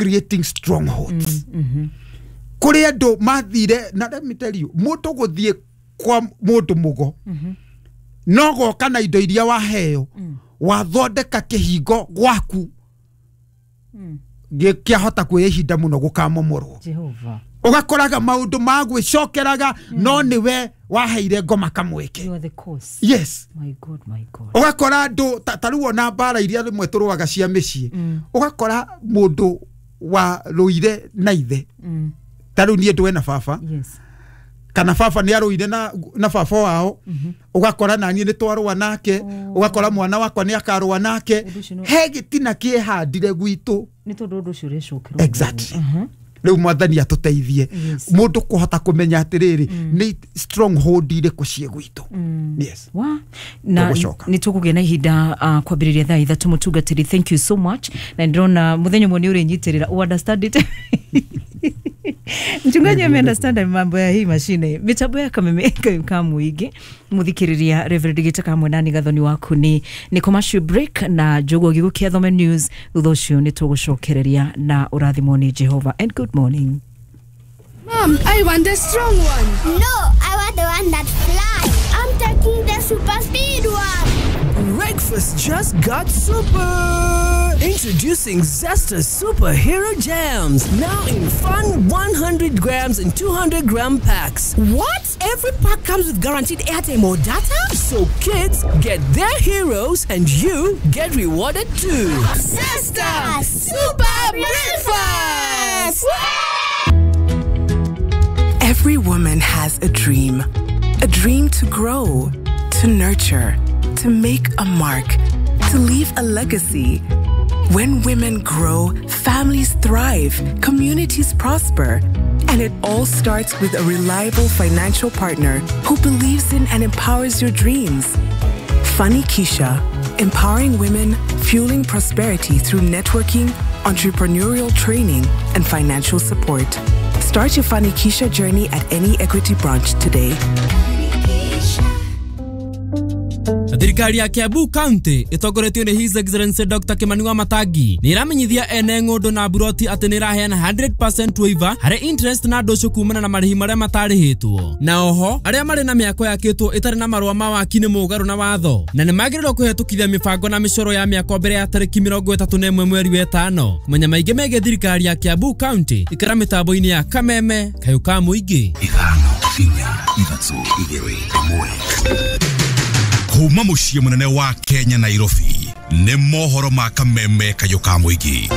Creating strongholds. Kũrĩ andũ mathire, na let me tell you, mũndũ gũthiĩ kwa mũndũ mũgo no goka na indo iria waheo, wathondeka kĩhingo gwaku gĩkĩahota kuoya ihinda mũno gũkamomorwo. Jehova. Ũgakoraga maũndũ ma gwĩcokeraga, no nĩwe waheire ngoma kamweke. You are the cause. Yes. My God, my God. Ũgakora andũ ta rĩu ona mbara iria rĩmwe tũrũaga cia mĩciĩ, ũgakora mũndũ warũire na ithe, ta rĩu niĩ ndũe na baba, kana baba nĩ arũire na baba wao, ũgakora naniĩ nĩ twarũa nake, ũgakora mwana wakwa nĩ akarũa nake. Ũndũ ũcio He gĩtina kĩehandire gwitũ. Nĩ tondũ ũndũ ũcio ũrecokerwo. Exactly. Rĩu Mwathani atũteithie mũndũ kũhota kũmenya atĩrĩrĩ, nĩ stronghold irĩkũ ciĩ gwitũ. Yes. Wa na Tũgũcoka. Nĩ tũkũgĩa na ihinda kwambĩrĩria thaa 3. Mũtungatĩri, thank you so much, na ndĩrona mũthenya ũmwe nĩ ũrĩnyitĩrĩra. Understand it, mchungaji ame understand mambo ya hii mashine, mitambo ya Kameme ka muingi. Muthikiriria, Reverend Gitaka hamwe nani Gathoni waku ni commercial break na Njogu agĩgũkia thome news. Thutha ũcio nĩ tũgũcokereria na ũrathimwo nĩ Jehova, and good morning. Mom, I want the strong one. No, I want the one that flies. I'm taking the super speed one. Breakfast just got super! Introducing Zesta Superhero Jams, now in fun 100 grams and 200 gram packs. What? Every pack comes with guaranteed airtime or data? So kids get their heroes and you get rewarded too. Zesta Super Breakfast! Every woman has a dream. A dream to grow, to nurture, to make a mark, to leave a legacy. When women grow, families thrive, communities prosper. And it all starts with a reliable financial partner who believes in and empowers your dreams. Fanikisha, empowering women, fueling prosperity through networking, entrepreneurial training, and financial support. Start your Fanikisha journey at any Equity branch today. Thirikari ya Kiambu County ĩtongoretio nĩ His Excellency Dr. Kimani Wamatangi nĩ ĩramenyithia ene ng'ũndũ na mburoti atĩ nĩ ĩraheana 100% waiver harĩ interest na ndũcũ kumana na marĩhi marĩa matarĩhĩtwo, na oho arĩa marĩ na mĩako yakĩtwo ĩtarĩ na marũa ma waki nĩ mũgarũ na watho na nĩ magĩrĩirwo kũhetũkithia mĩbango na mĩcoro ya mĩako mbere ya tarĩki 31 mweri wa ĩtano. Kũmenya maingĩ megiĩ thirikari ya Kiambu County, ikara mĩtambo-inĩ ya Kameme Kayũ ka Mũingĩ. 5 4 3 2 1. Kuma mũciĩ mũnene wa Kenya, Nairobi, nĩ mohoro ma Kameme Kayũ ka Mũingĩ.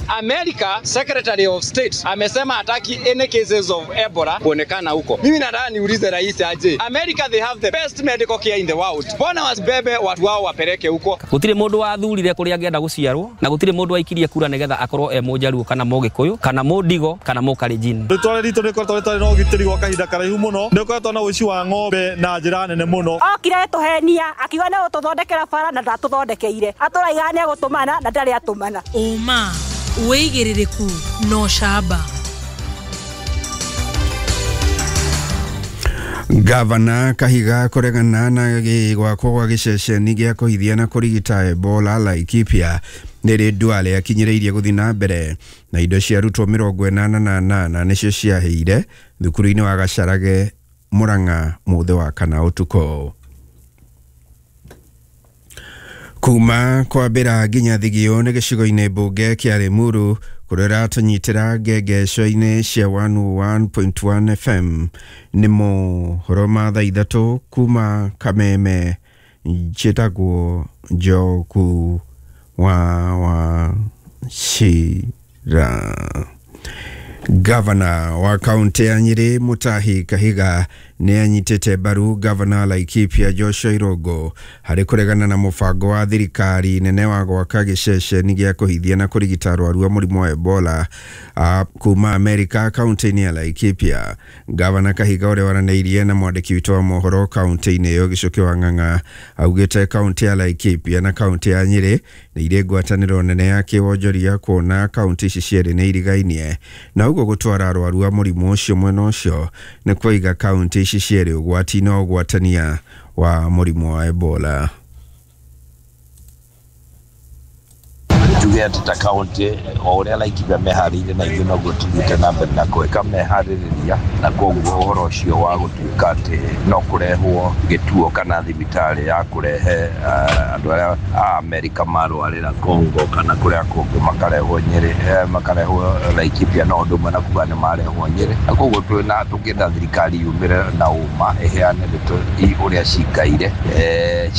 America Secretary of State amesema hataki any cases of Ebola kuonekana huko. Mimi nataka niulize rais aje. America, they have the best medical care in the world. Mbona wasibebe watu wao wapeleke huko? Gũtirĩ mũndũ wathurire kũrĩa angĩenda gũciarwo, na gũtirĩ mũndũ waikirie kura nĩgetha akorwo e mũjaruo kana mũgĩkũyũ kana mũndigo kana mũkalenjin. Rĩtwa ritũ nĩ rĩkoretwo rĩtarĩ na ũgitĩri gwa kahinda karaihu mũno. Nĩ ũkoretwo na ũici wa ng'ombe na njĩra nene mũno. Okire tũhenia akiuga nĩ gũtũthondekera bara na ndatũthondekeire. Atũraiga nĩ egũtũmana na ndarĩ atũmana. Ũma, wĩigĩrĩrĩku na ũcamba. Gavana Kahiga kũregana na gwakwo gwa gĩceceni gĩa kũhithia na kũrigita Ebola Laikipia nĩ Duale akinyĩrĩirie gũthiĩ na mbere, na indo cia arutwo 88 nĩcio ciahĩire thukuru-inĩ wa Gacarage, Murang'a, mũthĩ wa kana ũtukũ. Kuma kwambĩra nginya Thigio nĩ gĩcigo-inĩ mbunge kĩa Limuru kũrĩa ũratũnyitĩra ngengeco-inĩ cia 101.1 FM. Nĩ mohoro ma thaa 3 kuma Kameme. Njĩtagwo Njogu wa Wachira. Gavana wa kaunti ya Nyeri Mutahi Kahiga nĩ anyitĩte mbaru gavana Laikipia Joshua Irongo harĩ kũregana na mũbango wa thirikari nene wa gwaka gĩceceni gĩa kũhithia na kũrigita arwaru a mũrimũ wa Ebola kuma Amerika kaunti-inĩ ya Laikipia. Gavana Kahiga, ũrĩa waranĩirie na mwandĩki witũ wa mohoro kaunti-inĩ ĩyo Gĩcũkĩ wa Ng'ang'a, augĩte kaunti ya Laikipia na kaunti ya Nyeri nĩ irĩ ngwatanĩro nene ya kĩwonjoria, kuona kaunti ici cierĩ nĩ irigainie, na ũguo gũtwara arwaru a mũrimũ ũcio mwena ũcio nĩ kũiga kaunti ici cierĩ ũgwati-inĩ wa ũgwatania wa mũrimũ wa Ebola. Njuge atĩ ta kaunti o ũrĩa Laikipia meharĩirie na ithuĩ noguo tũthiĩte na mbere na gwĩka meharĩrĩria, na koguo ũhoro ũcio wa gũtuĩka atĩ no kũrehwo gĩtuo kana thibitarĩ ya kũrehe andũ arĩa a Amerika marwarĩra Congo kana kũrĩa kũngĩ makarehwo Nyĩrĩ, makarehwo Laikipia, no ũndũ ũmwe na kuga nĩ marehwo Nyĩrĩ. Na koguo twĩna tũngĩenda thirikari yumĩre na ũma ĩheane ndeto ũrĩa cikaire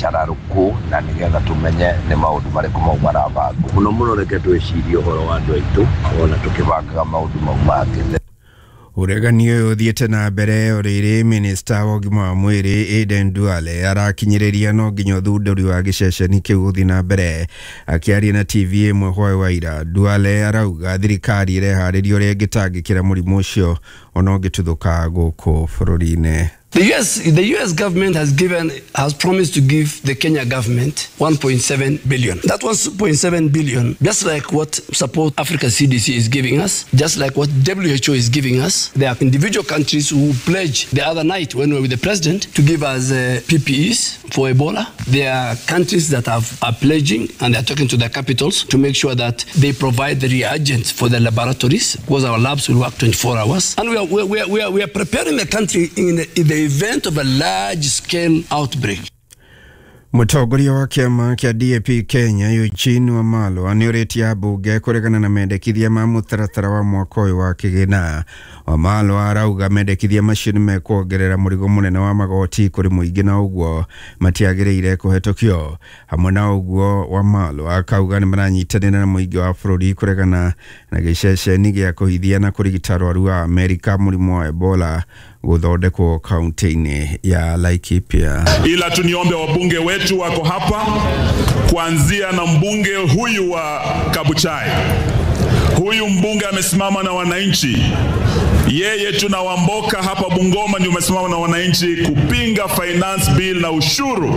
cararũkũ, na nĩgetha tũmenye nĩ maũndũ marĩkũ mau marabangwo. Mũno mũno reke twĩcirie ũhoro wa andũ aitũ ona tũkĩbangaga maũndũ mau mangĩ. Ũregani ũyũ ũthiĩte na mbere orĩrĩ minista wa ũgima wa mwĩrĩ Aden Duale arakinyĩrĩria no nginya ũthundũri wa gĩceceni kĩu ũthiĩ na mbere. Akĩaria na TV ĩmwe hwaĩ wa ira, Duale arauga thirikari ĩreharĩria ũrĩa ĩngĩtangĩkĩra mũrimũ ũcio ona ũngĩtuthũka gũkũ bũrũri-inĩ. The US government has promised to give the Kenya government 1.7 billion. That 1.7 billion, just like what Support Africa CDC is giving us, just like what WHO is giving us. There are individual countries who pledged the other night when we were with the president to give us PPEs for Ebola. There are countries that are pledging, and they are talking to their capitals to make sure that they provide the reagents for the laboratories, because our labs will work 24 hours. And we are preparing the country in the event of a large-scale outbreak. Mũtongoria wa kĩama kĩa DAP Kenya Eugene Wamalwa nĩũrĩtie ambunge kũregana na mendekithia ma mũtaratara wa mwaka ũyũ wa kĩgĩna. Wamalwa arauga mendekithia macio nĩ mekuongerera mũrigo mũnene wa magoti kũrĩ mũingĩ na ũguo matiagĩrĩire kũhetũkio. Hamwe na ũguo Wamalwa akauga nĩ maranyitanĩra na mũingĩ wa bũrũri kũregana na gĩceceni gĩa kũhithia na kũrigita arwaru a Amerika mũrimũ wa Ebola gũthondekwo kaunti-inĩ ya Laikipia. Ila tuniombe wabunge wetu wako hapa, kuanzia na mbunge huyu wa Kabuchai. Huyu mbunge amesimama na wananchi. Yeye tunawamboka hapa Bungoma ndio umesimama na wananchi kupinga finance bill na ushuru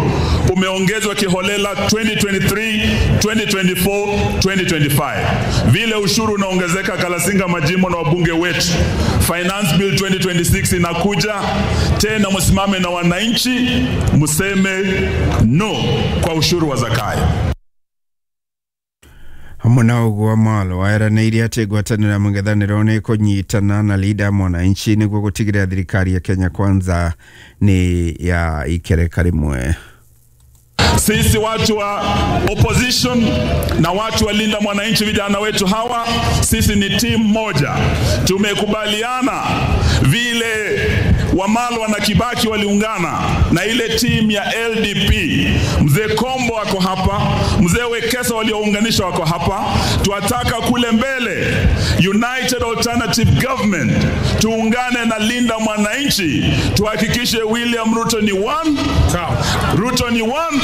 umeongezwa kiholela 2023, 2024, 2025. Vile ushuru unaongezeka Kalasinga majimbo na wabunge wetu. Finance bill 2026 inakuja tena, msimame na wananchi mseme no kwa ushuru wa Zakayo. Hamwe na ũguo Wamalwa eranĩire atĩ ngwatanĩro ya mũng'ethanĩro nĩ ĩkũnyitana na Linda Mwananchi nĩguo gũtigĩrĩra thirikari ya Kenya Kwanza nĩ ya ikereka rĩmwe. Sisi watu wa opposition na watu wa Linda Mwananchi, vijana wetu hawa, sisi ni timu moja. Tumekubaliana vile Wamalwa na Kibaki waliungana na ile timu ya LDP. Mzee Kombo wako hapa, Mzee Wekesa waliounganisha wako hapa. Tuataka kule mbele United Alternative Government, tuungane na Linda Mwananchi, tuhakikishe William Ruto ni one, Ruto ni one.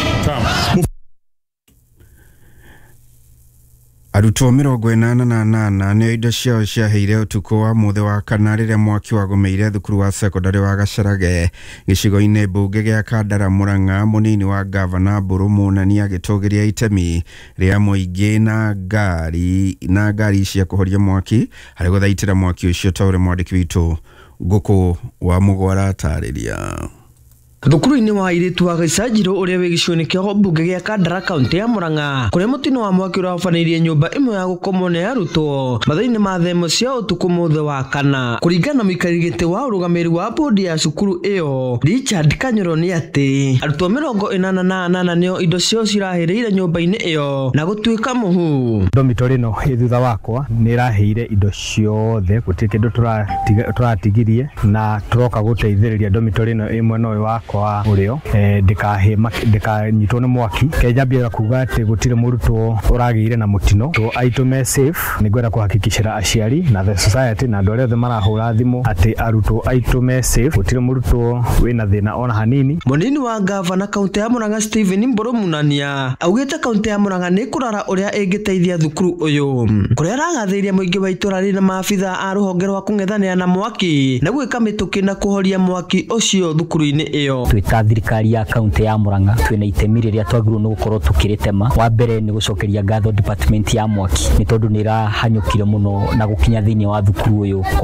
Arutwo 88 nĩo indo ciao ciaheire ũtukũ wa mũthĩ wa kana rĩrĩa mwaki wagũmĩire thukuru wa sekondarĩ wa Gacarage gĩcigo-inĩ mbunge gĩa Kandara Murang'a. Mũnini wa gavana Mbũrũ Mũnani agĩtũgĩria itemi rĩa mũingĩ na ngari cia kũhoria mwaki harĩ gũthaitĩra mwaki ũcio, ta ũrĩa mwandĩki witũ Ngũkũ wa Mũgwara atarĩria. Thukuru-inĩ wa airĩtu wa Gĩcanjirũ ũrĩa wĩ gĩcigo-inĩ kĩa mbunge gĩa Kandara kaunti ya Murang'a, kũrĩa mũtino wa mwaki ũrabanĩirie nyũmba ĩmwe ya gũkomwo nĩ arutwo mathaa-inĩ ma thaa ĩmwe cia ũtukũ mũthĩ wa kana. Kũringana na mũikarĩri gĩtĩ wa ũrũgamĩrĩri wa bodi ya cukuru ĩyo Richard Kanyoro, nĩ atĩ arutwo 88 nĩo indo ciao cirahĩrĩire nyũmba-inĩ ĩyo na gũtuĩka mũhu. Dormitory ĩno ĩ thutha wakwa nĩ ĩrahĩire indo ciothe, gũtirĩ kĩndũ tũratigirie, na tũroka gũteithĩrĩria dormitory ĩno ĩ mwena ũyũ wakwa wa ũrĩo ndĩkanyitwo nĩ mwaki. Kenjambia kuga atĩ gũtirĩ mũrutwo ũragĩire na mũtino, aitũ me safe. Nĩngwenda kũhakikicĩra aciari na the society na andũ arĩa othe marahũra thimũ atĩ arutwo aitũ me safe, gũtirĩ mũrutwo wĩna thĩna ona hanini. Mũnini wa gavana kaunti ya Murang'a Stephen Mbũrũ Munania augĩte kaunti ya Murang'a nĩ kũrora ũrĩa ĩngĩteithia thukuru ũyũ, kũrĩa aragathĩrĩria mũingĩ wa itũra rĩrĩ na maabitha a rũhonge rwa kũng'ethanĩra na mwaki na gwĩka mĩtũkĩ na kũhoria mwaki ũcio thukuru-inĩ ĩyo. ĩyo. Twĩ ta thirikari ya kaunti ya Murang'a twĩna itemi rĩrĩa twagĩrĩirwo nĩ gũkorwo tũkĩrĩtema. Wa mbere nĩ gũcokeria ngatho department ya mwaki nĩ tondũ nĩ ĩrahanyũkire mũno na gũkinya thĩinĩ wa thukuru ũyũ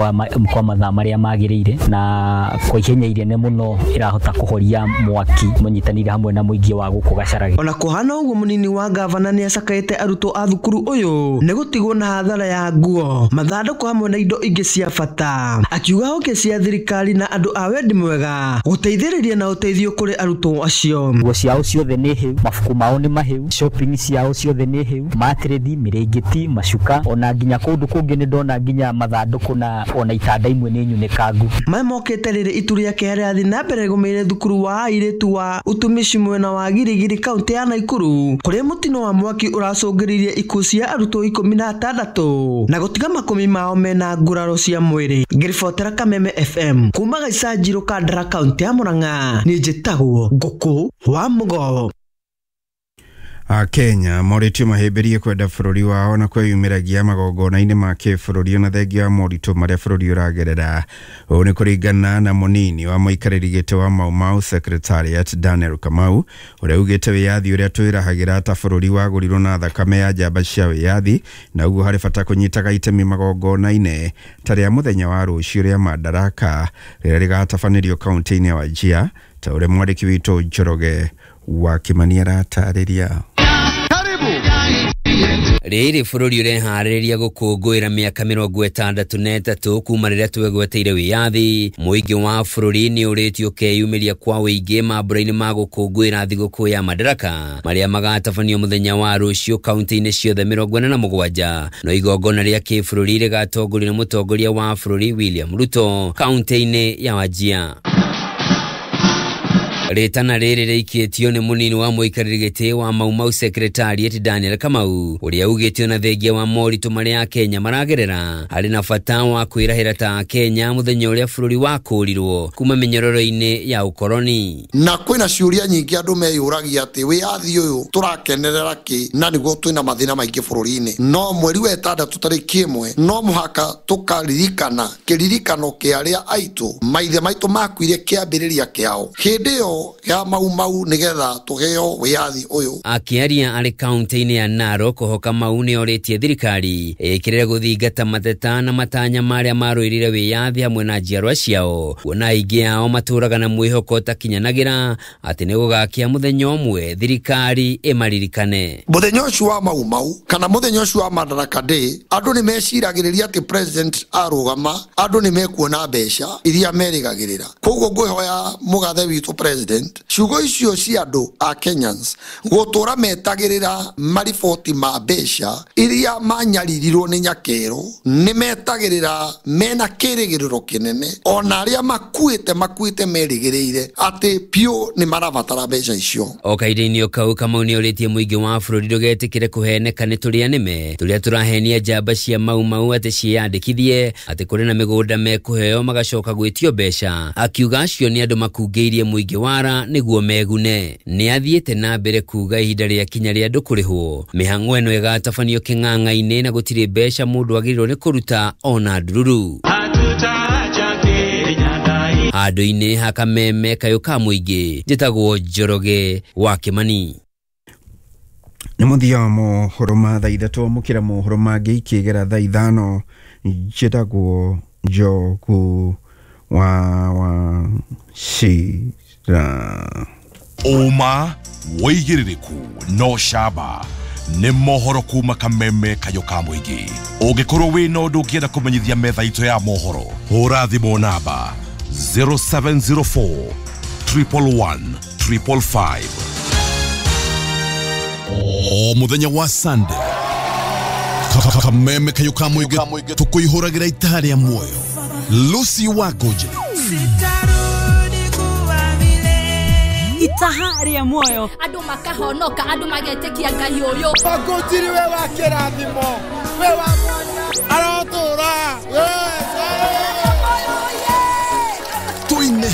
kwa mathaa marĩa magĩrĩire, na kwa ihenya inene mũno ĩrahota kũhoria mwaki mũnyitanĩire hamwe na mũingĩ wa gũkũ Gacharage. Ona kũhana ũguo, mũnini wa gavana nĩ acakaĩte arutwo a thukuru ũyũ nĩ gũtigwo na hathara ya nguo, mathandũkũ hamwe na indo ingĩ cia bata, akiuga honge cia thirikari na andũ a wendi mwega gũteithĩrĩria na ũteithio kũrĩ arutwo acio. Nguo ciao ciothe nĩ hĩu, mabuku mao nĩ mahĩu, shopping ciao ciothe nĩ hĩu, matĩrĩthi, mĩrĩngĩti, macuka, ona nginya kũndũ kũngĩ nĩ ndona nginya mathandũkũ na ona itanda imwe nĩ nyunĩkangu. Maya mokĩte rĩrĩ itu rĩa kĩeha rĩrathiĩ na mbere rĩgũmĩire thukuru wa airĩtu wa utumishi mwena wa Girigiri kaunti ya Nakuru, kũrĩa mũtino wa mwaki ũracũngĩrĩirie ikuũ cia arutwo 16 na gũtiga 10 mao mena nguraro cia mwĩrĩ. Ngĩribotera Kameme FM kuma Gaicanjirũ, Kandara, kaunti ya Murang'a, niĩ njĩtagwo Ngũkũ wa Mũgo. Akenya morĩtio mahĩmbĩrie kwenda bũrũri wao na kwĩyumĩragia magongona-inĩ ma kĩbũrũri ona thengia wa moritũ marĩa bũrũri ũragerera. Ũũ nĩ kũringana na mũnini wa mũikarĩri gĩtĩ wa Mau Mau Secretariat Daniel Kamau, ũrĩa ugĩte wĩyathi ũrĩa twĩrahagĩra ta bũrũri wagũrirwo na thakame ya njamba cia wĩyathi, na ũguo harĩ bata kũnyitaga itemi magongona-inĩ ta rĩa mũthenya wa rũciũ rĩa Madaraka rĩrĩa rĩgatabanĩrio kaunti-inĩ ya Wajir, ta ũrĩa mwandĩki witũ Njoroge wa Kimani aratarĩria. Rĩrĩ bũrũri ũreharĩrĩria gũkũngũĩra mĩaka 63 kuma rĩrĩa twegweteire wĩyathi. Mũingĩ wa bũrũri nĩ ũrĩtio ũkeyumĩria kwa wĩingĩ mambũra-inĩ ma gũkũngũĩra thigũkũ ya Madaraka marĩa magatabanio mũthenya wa rũciũ kaunti-inĩ ciothe 47. No igongona rĩa kĩbũrũri rĩgatongorio nĩ mũtongoria wa bũrũri William Ruto kaunti-inĩ ya Wajir. Rĩtana rĩrĩ rĩikĩtio nĩ mũnini wa mũikarĩri gĩtĩ wa Mau Mau Secretariat Daniel Kamau, ũrĩa ugĩtio na thengia wa moritũ marĩa Akenya maragerera harĩ na bata wa kwĩrahĩra ta Akenya mũthenya ũrĩa bũrũri wakũrirwo kuma mĩnyororo-inĩ ya ũkoroni. Na kwĩna ciũria nyingĩ andũ meyũragia atĩ wĩyathi ũyũ tũrakenerera kĩ, na nĩguo twĩna mathĩna maingĩ bũrũri-inĩ. No mweri wa 6 tarĩki 1 no mũhaka tũkaririkana kĩririkano kĩa arĩa aitũ maithe maitũ makuire kĩambĩrĩria kĩao hĩndĩ ĩyo ya Mau Mau nigetha tuheo wĩyathi ũyũ. Akĩaria arĩ kaunti-inĩ ya Narok, Kamau nĩ orĩtie thirikari ĩkĩrĩre gũthingata mateta na matanya marĩa marũĩrĩire wĩyathi hamwe na njiarwa ciao, kuona aingĩ ao matũraga na mwĩhoko ũtakinyanagĩra atĩ nĩ gũgakĩa mũthenya ũmwe thirikari ĩmaririkane. Mũthenya ũcio wa Mau Mau kana mũthenya ũcio wa Madaraka Day, andũ nĩ meciragĩrĩria atĩ president arũgama andũ nĩ mekuona mbeca iria merĩgagĩrĩra. Koguo ngwĩhoya mũgathe witũ president, ciugo icio cia andũ a Kenyans gũtũra metagĩrĩra mariboti ma mbeca iria manyaririrwo nĩ nyakero, nĩ metagĩrĩra mena kĩrĩgĩrĩro kĩnene, ona arĩa makuĩte merĩgĩrĩire atĩ piũ nĩ marabatara mbeca icio. O kahinda-inĩ o kau, Kamau nĩ orĩtie mũingĩ wa bũrũri ndũgetĩkĩre kũheneka nĩ tũrĩa nĩme tũrĩa tũrahenia njamba cia Mau Mau atĩ ciĩyandĩkithie atĩ kũrĩ na mĩgũnda mekũheo magacoka gwĩtio mbeca, akiuga acio nĩ andũ makungĩirie mũingĩ wara nĩguo megune. Nĩ athiĩte na mbere kuga ihinda rĩa kinya rĩa andũ kũrĩhwo mĩhang'o ĩno ĩgatabanio kĩng'ang'a-inĩ na gũtirĩ mbeca mũndũ agĩrĩirwo nĩ kũruta ona ndururu. Handũ-inĩ ha Kameme kayũ ka mũingĩ, njĩtagwo Njoroge wa Kimani. Nĩ mũthia wa mohoro ma thaa 3, amũkĩra mohoro mangĩ ikĩgera thaa 5. Njĩtagwo Njogu wa Wachira. Ũma wĩigĩrĩrĩku no camba nĩ mohoro kuma Kameme kayũ ka mũingĩ. Ũngĩkorwo wĩna ũndũ ũngĩenda kũmenyithia metha itũ ya mohoro, hũra thimũ namba 0704 111 555. O mũthenya wa Sunday, Kameme kayũ ka mũingĩ tũkũihũragĩra itaha rĩa muoyo. Lucy Wangũnjĩrĩ itaha rĩa muoyo, andũ makahonoka, andũ magetĩkia Ngai ũyũ. Wangũnjĩrĩ we wa kĩrathimo, we wa mwanya.